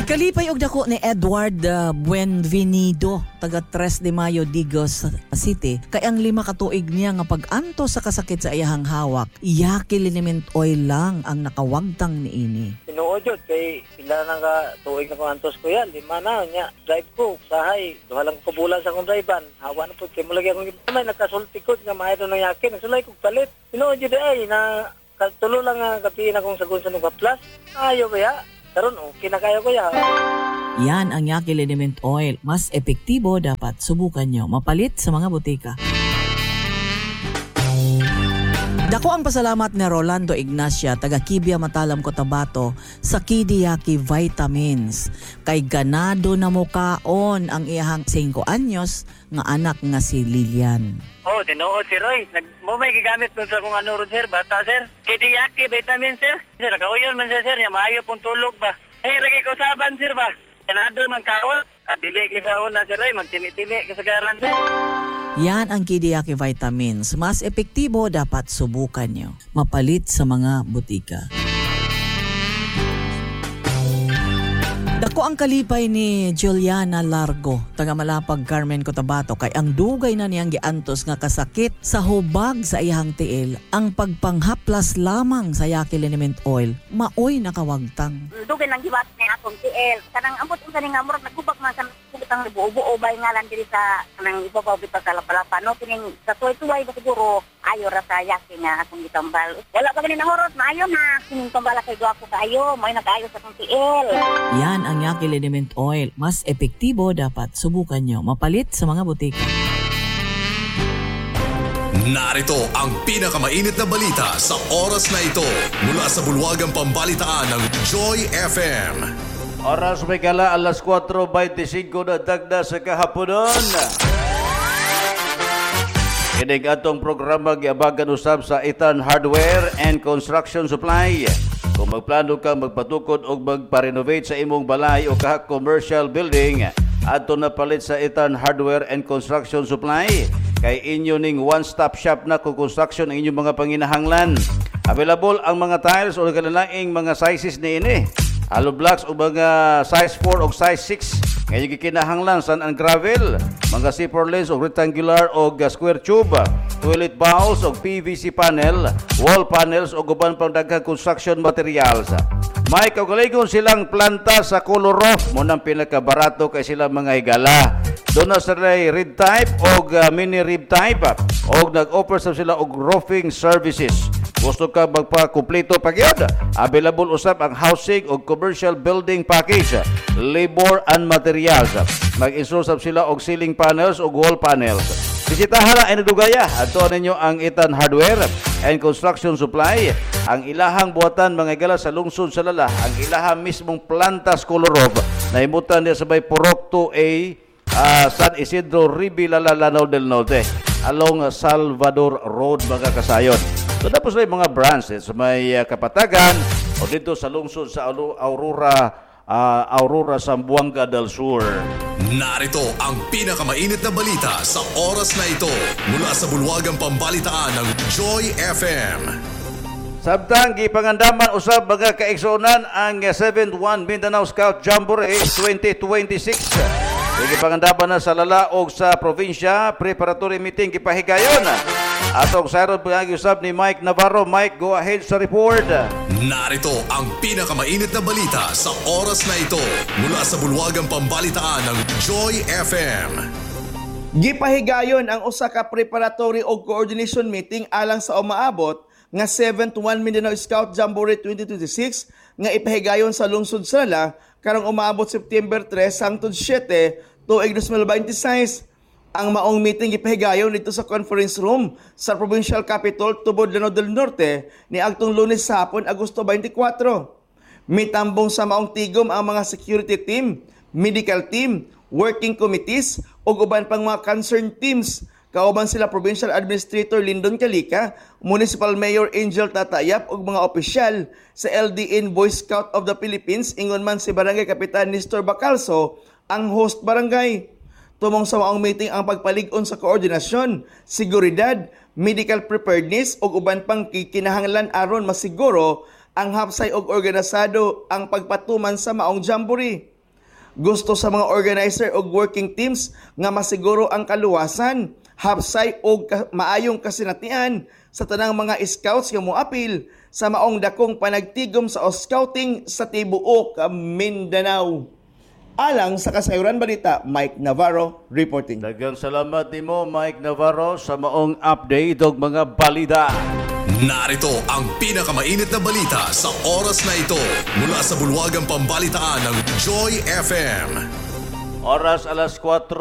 Gikalipay og dako ni Edward Buenvenido, taga 3 de Mayo, Digos City, kay ang 5 ka tuig niya nga pag-antos sa kasakit sa iyahang hawak, Yaki liniment oil lang ang nakawagtang niini. Tinuod jud kay pila na ka tuig na kong antos ko yan, 5 na nya drive ko sahay, 2 lang ko bulan sa akong drive-an, hawa na pud kay mo lagi akong may nakasulti ko nga maayo nang yaki, nagsulay kog palit. Tinuod jud ay na tulo lang nga gabi na kong sagun sa Nuga Plus. Ayo ba ya? Karon okay na kayo kuya. Yan ang Yaki liniment oil. Mas epektibo, dapat subukan nyo. Mapalit sa mga botika. Dako ang pasalamat ni Rolando Ignacia, taga Kibia, Matalam, Cotabato, sa Kidiyaki Vitamins. Kay ganado na mukaon ang iyahang 5 anyos nga anak nga si Lilian. Oh, tinuod si Roy. Nag mo may gigamit nun sa kung ano ron sir, bata sir. Kidiyaki vitamin sir. Sir, nakauyon man siya sir, nya maayo pong tulog ba. Eh, lagi ko saban sir ba. Ganado man kaon. Ah, dili kita una sir Roy, magtimi-timi kasagaran sir. Yan ang Kidiyaki Vitamins. Mas epektibo, dapat subukan nyo. Mapalit sa mga botika. Dako ang kalipay ni Juliana Largo, taga Malapag, Carmen, Cotabato, kay ang dugay na niyang giantos nga kasakit sa hubag sa iyahang tiil, ang pagpanghaplas lamang sa Yaki liniment oil, maoy nakawagtang. Dugay nang giwat ni akong tiil. Kanang ambot unsa ni nga murag nagubag man sa butang buo-buo bay ngalan diri sa kanang ibabaw bitaw sa Lapalapa no, kining sa tuway-tuway ba siguro ayo ra sa yaki nga akong gitambal. Wala pa gani nahurot, maayo na. Kining tambala kay gwapo kaayo, may nagaayo sa akong tiil. Yan ang Yaki liniment oil. Mas epektibo, dapat subukan nyo. Mapalit sa mga botika. Narito ang pinakamainit na balita sa oras na ito mula sa bulwagang pambalitaan ng Joy FM. Oras may gala alas 4:25 na dagda sa kahaponon. Kining atong programa giabagan usab sa Itan Hardware and Construction Supply. Kung magplano ka magpatukod o magpa-renovate sa imong balay o kaha commercial building, adto na palit sa Itan Hardware and Construction Supply. Kay inyo ning one-stop shop na kung construction ang inyong mga panginahanglan. Available ang mga tiles o kalalaing mga sizes niini. Hollow blocks o mga size 4 o size 6. Ngayon gikinahanglan sand and gravel, mga zipper lens o rectangular o square tube, toilet bowls o PVC panel, wall panels o uban pang daghang construction materials. May kaugalingon silang planta sa Kolorof, mo nang pinakabarato kay sila mga higala. Doon na sila red type o mini rib type o nag-offer sa sila og roofing services. Gusto ka magpa-kumpleto pa gyud? Available usab ang housing o commercial building package, labor and materials. Mag-install sab sila og ceiling panels o wall panels. Bisitahan na ay nadugaya. Adto ninyo ang Itan Hardware and Construction Supply. Ang ilahang buhatan mga higala sa lungsod sa Lala, ang ilahang mismong plantas Kolorov, nahimutan niya sa may Purok 2A, San Isidro, Ribi, Lala, Lanao del Norte, along Salvador Road mga kasayon. So tapos na yung mga branches sa may Kapatagan o dito sa lungsod sa Aurora, Zamboanga del Sur. Narito ang pinakamainit na balita sa oras na ito mula sa bulwagang pambalitaan ng Joy FM. Samtang gipangandaman usab mga kaigsuonan ang 7-1 Mindanao Scout Jamboree 2026. Gipangandaman na sa Lala og sa probinsya, preparatory meeting gipahigayon. Atong sayron pag usab ni Mike Navarro. Mike, go ahead sa report. Narito ang pinakamainit na balita sa oras na ito mula sa bulwagang pambalitaan ng Joy FM. Gipahigayon ang usa ka preparatory og coordination meeting alang sa umaabot nga 7-1 Mindanao Scout Jamboree 2026 nga ipahigayon sa lungsod sa Lala karong umaabot September 3 hangtod 7 tuig 2026. Ang maong meeting gipahigayon dito sa conference room sa Provincial Capitol, Tubod, Lanao del Norte niadtong Lunes sa hapon, Agosto 24. Mitambong sa maong tigom ang mga security team, medical team, working committees ug uban pang mga concerned teams. Kauban sila Provincial Administrator Lindon Kalika, Municipal Mayor Angel Tatayap ug mga opisyal sa LDN Boy Scout of the Philippines, ingon man si Barangay Kapitan Nestor Bacalso, ang host barangay. Tumong sa maong meeting ang pagpalig-on sa koordinasyon, seguridad, medical preparedness ug uban pang kinahanglan aron masiguro ang hapsay og organisado ang pagpatuman sa maong jamboree. Gusto sa mga organizer og working teams nga masiguro ang kaluwasan, hapsay og maayong kasinatian sa tanang mga scouts nga moapil sa maong dakong panagtigom sa scouting sa tibuok Mindanao. Alang sa Kasayuran Balita, Mike Navarro reporting. Daghang salamat nimo, Mike Navarro, sa maong update og mga balita. Narito ang pinakamainit na balita sa oras na ito mula sa bulwagang pambalitaan ng Joy FM. Oras alas 4.